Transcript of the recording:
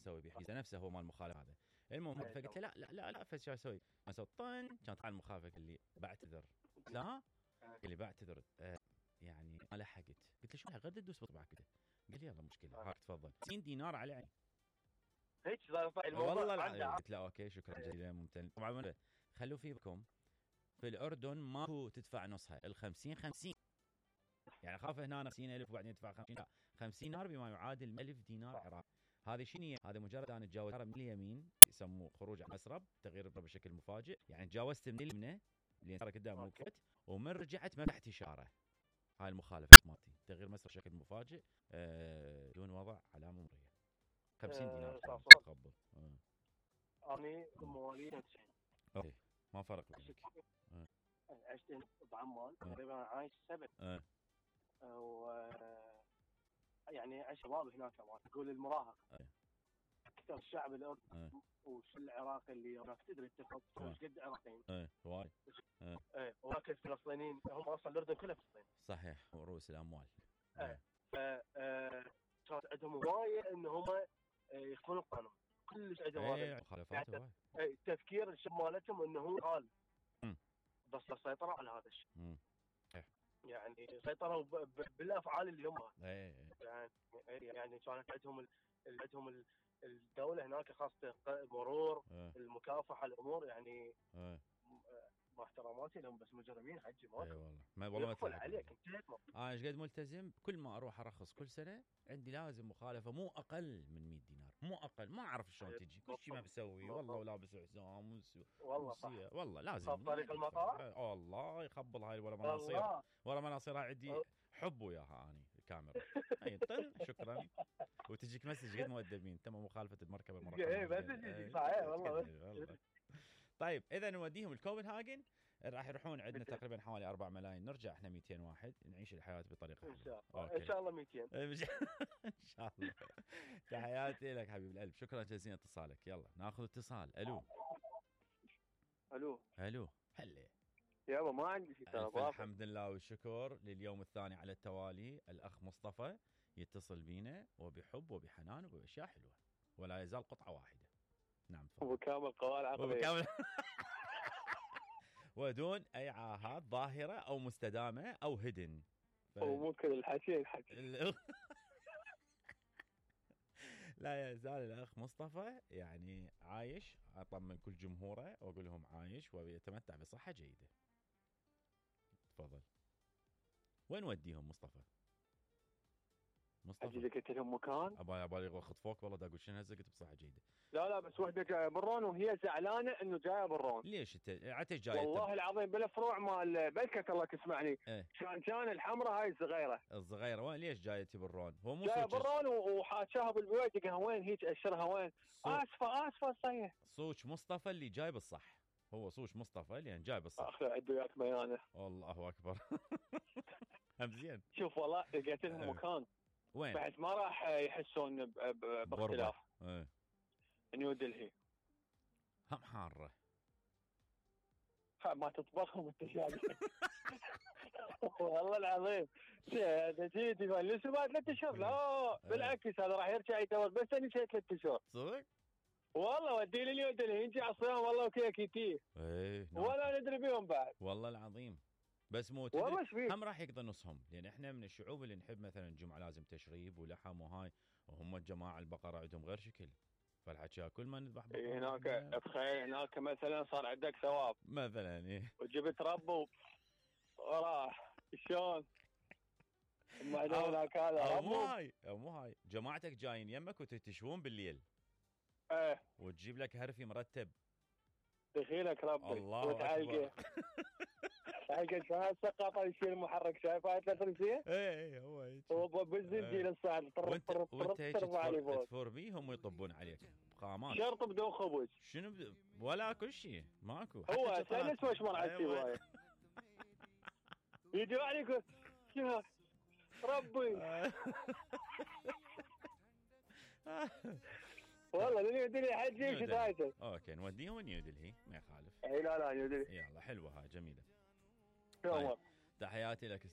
تسوي بيه نفسه هو مال المخالف هذا. المهم فقلت له لا فشو اسوي؟ اسوي طن كان طلع المخالفه قال لي بعتذر. قلت له ها؟ قال لي بعتذر يعني ما لحقت. قلت له شو غير تدوس بطبعك كذا. قال لي يلا مشكله هاك تفضل 90 دينار على عيني هيك صار الموضوع والله العظيم. قلت له اوكي شكرا جزيلا ممتن. طبعا خلوا في بالكم في الاردن ماكو تدفع نصها ال50 50 يعني خاف هنا 50,000 وبعدين تدفع 50 لا 50 دينار بما يعادل 1000 دينار عراقي. هذه شنو هذا؟ مجرد انا اتجاوز من اليمين يسموه خروج عن مسرب تغيير بشكل مفاجئ يعني تجاوزت من اليمنى اللي صار قدام وقفت ومن رجعت ما فتحت اشاره. هاي المخالفه مالتي تغيير مسار بشكل مفاجئ دون وضع علامه مروريه 50 دينار تقبل. اني مواليد 90 اوكي ما فرق بينك. عشت بعمان تقريبا عايش 7 و يعني عايش شباب هناك كمان تقول المراهق اكثر الشعب الاردني وش العراقي اللي هناك تدري اتفق ايش قد عراقيين وايد وهناك الفلسطينيين هم اصلا الاردن كله فلسطين صحيح ورؤوس الاموال ف كانت عندهم هوايه ان هم يخفون القانون كلش عندهم هذا مخالفات التفكير الشب مالتهم انه هو قال بس سيطروا على هذا الشيء يعني سيطروا بالافعال اللي هم يعني كانت عندهم الدوله هناك خاصه مرور المكافحه الامور يعني مع احتراماتي لهم بس مجرمين حجي ما والله ما تفضل عليك انت ايش قد ملتزم كل ما اروح ارخص كل سنه عندي لازم مخالفه مو اقل من 100 دينار مو اقل ما اعرف شلون تجي كل شيء ما بسوي والله ولابس حزام والله لازم طريق المطار والله يخبل هاي ولا مناصير عندي حب وياها اني الكاميرا اي طن شكرا وتجيك مسج قد مؤدبين تم مخالفه المركبه بس صحيح والله طيب اذا نوديهم الكوبنهاجن راح يروحون عندنا تقريبا حوالي 4 ملايين نرجع احنا 200 واحد نعيش الحياه بطريقه ان شاء الله ان شاء الله 200 ان شاء الله. تحياتي لك حبيب القلب شكرا جزيلا اتصالك. يلا ناخذ اتصال. الو هلا يابا ما عندي شيء الحمد لله والشكر لليوم الثاني على التوالي الاخ مصطفى يتصل بينا وبحب وبحنان وباشياء حلوه ولا يزال قطعه واحده. نعم تفضل. وبكامل قوال عقلية ودون اي عاهات ظاهره او مستدامه او هدن وممكن الحكي لا يزال الاخ مصطفى يعني عايش. اطمن كل جمهوره واقول لهم عايش ويتمتع بصحه جيده. تفضل. وين وديهم مصطفى؟ اجي قلت لهم مكان ابالي خطفوك والله دا اقول شنو هسه قلت بصحه جيده. لا بس وحده جايه برون وهي زعلانه انه جايه برون. ليش انت عتش جايه؟ والله العظيم بالفروع مال بلكك الله تسمعني كان الحمراء هاي الصغيره وين ليش جايه برون؟ هو مو جايه برون وحاشاها بالبيت قالها وين هيك اشرها وين؟ اسفه صحيح صوش مصطفى اللي جاي بالصح هو صوش مصطفى اللي جاي بالصح. اخي عدوا وياك بيانه الله اكبر. هم زين. شوف والله لقيت لهم مكان وين بعد ما راح يحسون باختلاف نيو دلهي هم حاره ما تطبخهم انت شايف. والله العظيم تجي تفلس بعد 3 اشهر لا بالعكس هذا راح يرجع يدور بس انا شيء 3 اشهر صدق والله ودي لي نيو دلهي يجي على الصيام والله وكيك يتيه ولا ندري بيهم بعد والله العظيم بس مو هم راح يقضي نصهم لان احنا من الشعوب اللي نحب مثلا الجمعه لازم تشريب ولحم وهاي وهم الجماعه البقره عندهم غير شكل فالحكي كل ما نذبح بقره هناك تخيل هناك مثلا صار عندك ثواب مثلا وجبت ربو وراح شلون ما هناك هذا مو هاي جماعتك جايين يمك وتتشوون بالليل وتجيب لك هرفي مرتب دخيلك ربي الله اكبر. حقك هالسقاطه يشيل المحرك شايفها تفرسيه؟ هو هيك هو بالزنجيل الصاعد وانت هيك تفور بيهم ويطبون عليك بقامات شرط بدون خبز شنو ولا كل شيء ماكو هو سلس وش مرعى السوايه يجي عليك شنو ربي والله نيو دلهي حجي وش دايته اوكي نوديهم نيو دلهي ما يخالف اي لا نيو دلهي يلا حلوه هاي جميله. طيب. تحياتي لك